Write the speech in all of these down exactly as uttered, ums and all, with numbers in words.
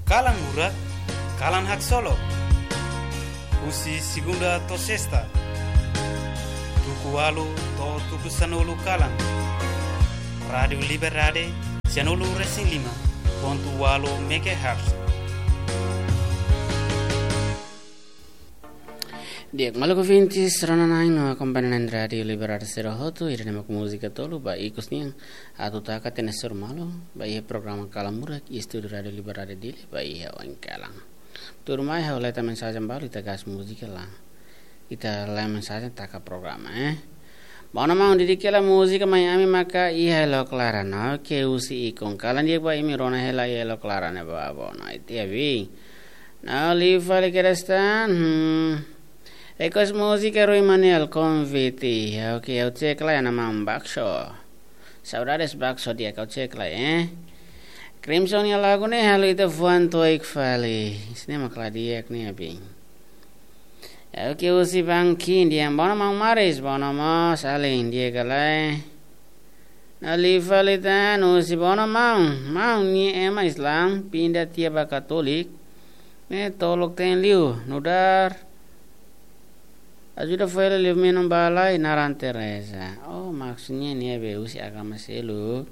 Kalan Murak, kalan haksolok. Husi segunda to'o sesta, tuku ualu to'o tuku sanulu kalan. Rádiu Liberdade, sianulu resin lima pontu ualu megahertz. Di'ak, maluk ouvintes, rona-na'in no akompaña na'in Rádiu Liberdade sira hotu, ida-ne'e mak múzika tolu ba ikus nian atu taka tiha ona sira malu ba iha programa Kalan Murak iha estúdiu Rádiu Liberdade Dili ba iha oin kalan. Tuirmai ha'u leta mensajen balu, ita gas múzika lai. Ita la'e mensajen, taka programa, eh. Bono maun, didik hela múzika mai ami maka iha Elok Laran. Oke, husi ikun. Kalan di'ak ba imi, rona hela iha Elok Laran ne'e ba, bono. Ita abi. Nah, liu fali kedas tan. Hmm. Request múzika Rui Manuel, Konvite. Oke, ha'u cek lai, ana maun Bakso. Saudades Bakso, di'ak, ha'u cek lai, eh. Crimson nia lagu ne'e halo ita fuan to'o oin fali. Sini mak la di'ak ne'e, abi. Oke, husi Bangkin, di'ak, bono maun Maris, bono mós, alin, di'ak ka lae. Nah, liu fali tan, husi bono maun, maun nia ema Islam, pinda tiha ba Katolik. Ne'e tolok ten liu, nu'udar ajuda fali liu menun balai naran Teresa. Oh, maksudnya ne'ebé husi agama seluk.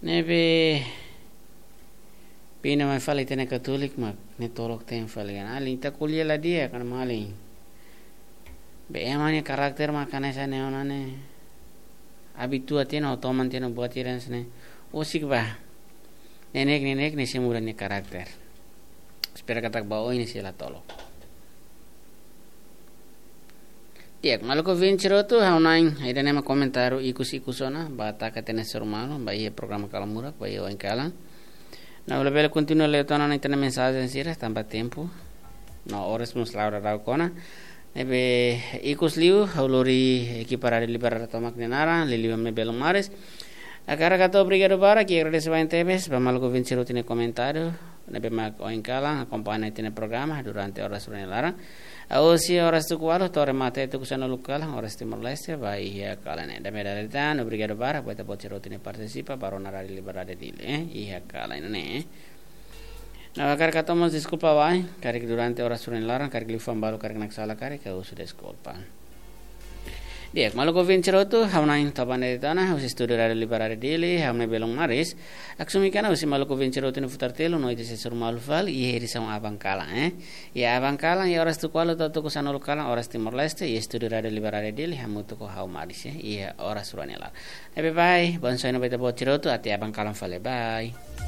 Ne'ebé pinda mai fali tiha ona Katolik mak ne'e tolok ten fali kan. Alin, ita ko'alia la di'ak kan, malin. Be ema nia karakter mak hanesan ne'e ona ne'e. Abitua tiha ona, toman tiha ona buat ida hanesan ne'e. Husik ba. Neineik, neineik ne'e sei muda nia karakter. Espera katak ba oin ne'e sei la tolok. Di'ak, maluk ouvinte sira hotu, ha'u-na'in, ida-ne'e mak komentáriu ikus-ikus ona ba taka tiha ona sira malu ba iha programa Kalan Murak ba iha oin kalan. Nah, labele kontinua lee tiha ona ita-nia mensajen sira tanba tempu no oras mós la'o daudaun ona. Ne'ebé ikus liu, ha'u lori ekipa Rádiu Liberdade tomak nia naran, liuliu ami belun maris. Hakarak hato'o obrigadu barak, i agradese barak tebes ba maluk ouvinte sira hotu nia komentáriu ne'ebé mak oin kalan akompaña ita-nia programa durante oras rua nia laran. Husi oras tuku ualu to'o remata tuku sanulu kalan, oras Timor-Leste, ba iha kalan ne'e. Dame dale tan, obrigadu barak ba ita-boot sira hotu nia partisipa ba rona Rádiu Liberdade Dili, eh, iha kalan ne'e. Nah, hakarak hato'o mós deskulpa wa'in, karik durante oras rua nia laran, karik liafuan balu karik naksalan karik, ha'u husu deskulpa. Di'ak, maluk ouvinte sira hotu, ha'u-na'in to'o ba ne'e de'it ona, husi estúdiu Rádiu Liberdade Dili, ha'u-nia belun maris. Aksumikana husi maluk ouvinte sira hotu nia futar telu, no ita sei sira malu fali iha edisaun aban kalan, eh. Iha aban kalan, iha oras tuku ualu to'o tuku sanulu kalan, oras Timor-Leste, iha estúdiu Rádiu Liberdade Dili, hamutuk ho ha'u maris, eh, iha oras rua nia laran. Ne'ebé bye, bom sono ba ita-boot sira hotu, até aban kalan fali, bye.